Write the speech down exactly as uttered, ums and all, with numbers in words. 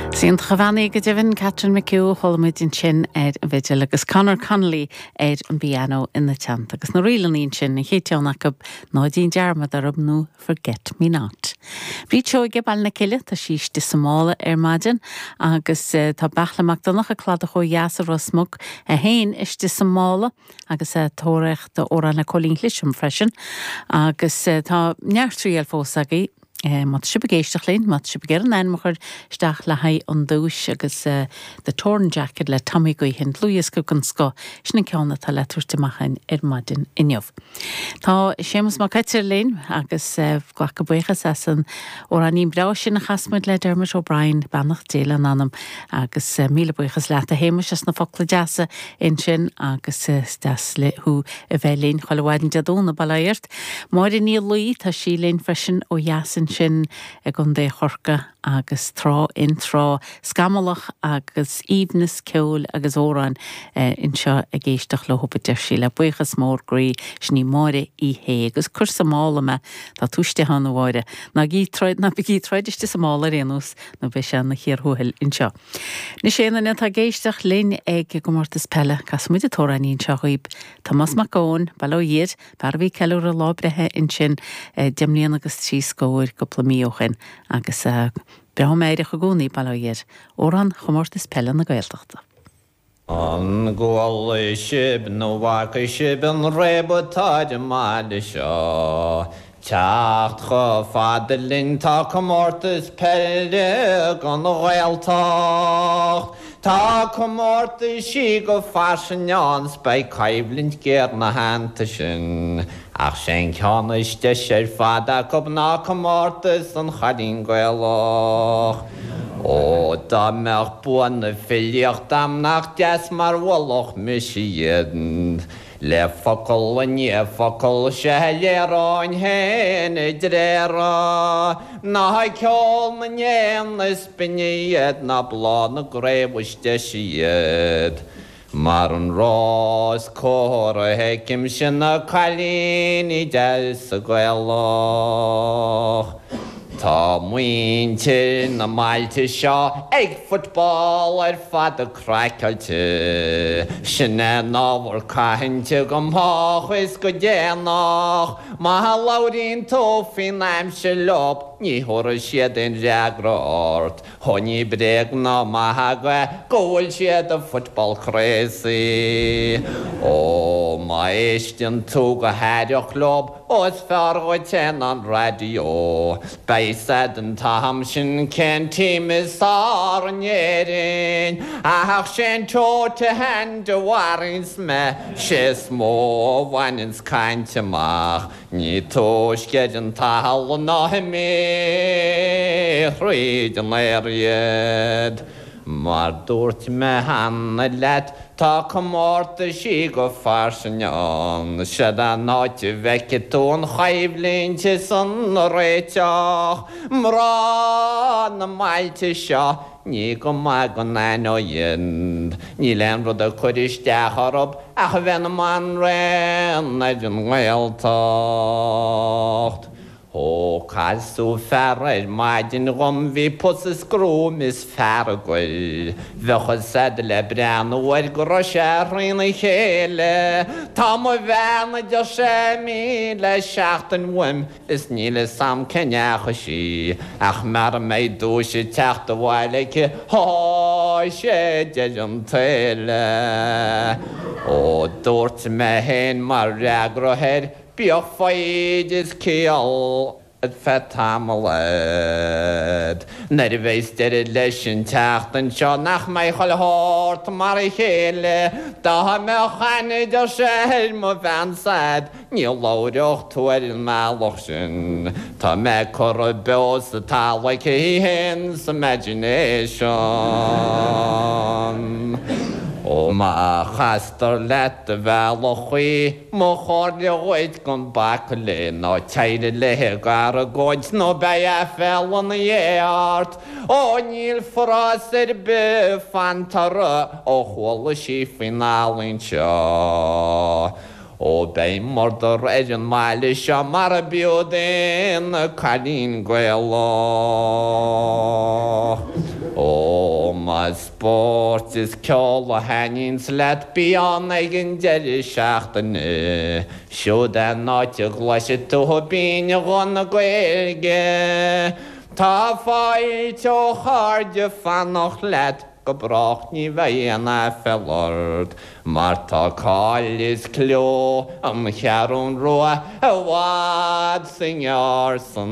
Is iontach a bhean í go deimhin Catherine McHugh chuala muid ansin ar an bhfidil agus Conor Connolly ar an bpianó ina teannta agus na ríleanna sin an chéad cheann acu ná déan dearmad orm nó Forget Me Not. Bríd Seoige Baile na Cille tá sí istigh sa mála ar maidin agus uh, tá Beartla Mac Donncha Cladach ó dheas i Ros Muc a haon istigh sa mála agus uh, tóraíocht amhrán le Cóilín Cliseam freisin agus uh, tá neart triail fós agaibh Eh, Má sibh ag éisteacht linn, má sibh ar an ainm a chur isteach le haghaidh an duais agus uh, The Torn Jacket le Tommy Guihin dlúthdhiosca den scoth sin an ceann atá le tabhairt amach ar maidin inniu. Tá Séamus Mac Coitir linn agus uh, glacadh buíochas as an amhráinín breá sin a chas muid le Dermot O'Brien beannacht Dé lena anam agus uh, míle buíochas leat a Shéamuis as na focla deasa ansin agus uh, deas le thú a bheith linn chuile mhaidin Dé Domhnaigh bail ort. Máire Ní Laoi tá sí linn freisin ó dheas sin i gContae Chorcaí agus tráth in tráth scamallach agus aoibhneas ceoil agus amhráin eh, anseo ag éisteacht leo deir sí le buíochas mór groí sin í Máire í hé agus cur sa mála me tá tú istigh ann a Mháire ná ná bígí troid istigh sa mála rénos nó beidh sé na chéirthuail anseo. Ní sé na tá ag éisteacht linn ag gcomórtas peile casfaimid an t-amhráinín seo dhaoibh Tomás Mac Eoin Bail ó Dhia air fear a bhí ag ceiliúradh lá breithe ansin eh, deich mbliana agus trí scór cúpla mí ó shin agus uh, breá meidhreach i gcónaí bail ó Dhia air amhrán chomórtas peile na Gaeltachta. An gcuala sibh nó bhfaca sibh an réab atá ar an mbaile seo. Teacht chomh fada linn tá comórtas peile don Ghaeltacht. Tá comórtaisí go fairsing ann 's beidh coimhlint ghéar ina theannta sin. Ach sé'n ceann is deise ar fad acu ná comórtas an Chailín Gaelach. Ó dá mbeadh bua na filíochta a'm nach deas mar mholfadh mise iad. Le focal i ndiaidh focail sé léireoinn féin a dtréada, Ná ceol na n-éan is binne iad ná bláth na gcraobh is deise iad. Mar an rós cóir a fheicimse na cailíní deasa Gaelach. Tá muintir na mbailte seo ag football ar fad craiceáilte. Sin é an ábhar cainte go moch is go déanach, Má labhraíonn tú faoin aimsir leo ní thabharfaidh siad aon fhreagra ort. Ó ní bréag ná magadh go bhfuil siad a football crazy. Ó má éisteann tú go haireach leo ó is fearr dhuit ná an raidió. Beidh a fhios a'd an t-am sin cén team is fearr in Éirinn, Ach sé'n toe to hand a mharaíonns mé sé is mó a bhaineanns caint amach, Ní túisce ar an talamh ná imithe thríd an aer iad. Mar dúirt mé cheana leat tá comórtaisí go fairsing ann, Siod an áit a bhfeicfidh tú an choimhlint is an réiteach, Mná na mbailte seo ní go maith go n-aithneoinn, Níl aon rud ag cur isteach orthu ach a bheith ina mbanríon ar an nGaeltacht. Ó casadh fear ar maidin dhom bhí pus is gruaim is fearg air. Bheadh a fhios a'd le breathnú air go raibh sé thrína chéile. Tá mo bhean a deir sé imithe le seachtain uaim is níl a fhios a'm cá ndeachaigh sí, ach mara mbeidh duais ag teacht abhaile aici tá sé deireadh an tsaoil. Ó dúirt mé féin mar fhreagra air, Bíodh foighid is ciall ar feadh tamaill a'd. Nuair a bheas deireadh leis an tseachtain seo nach mbeidh chuile shórt mar a chéile, Dá mbeadh aithne deir sé ar mo bhean s'a'd, ní labhródh tú ar an mbealach sin. Tá mé curtha beo sa talamh aici féin sa imagination. Ó má chastar leat do bhealach í, mo chomhairle dhuit gan bacadh léi ná téirigh léi ag argóint nó beidh aiféala ina dhiaidh ort. Ó níl forás ar bith fanta uirthi ó chuala sí faoin ealaín seo. Ó beidh murdar ar an mbaile seo mara b'fhiú d'aon chailín Gaelach. Ó Más spórt is ceol a thaitníonns leat bí ann ag an deireadh seachtaine. Siúd é an áit a gcloisfidh tú binn-ghuth na Gaeilge. Tá fáilte ó chairde fanacht leat go brách ní bheidh aon aiféala ort, mar tá cáil is clú an Cheathrún Rua i bhfad 's i ngearr san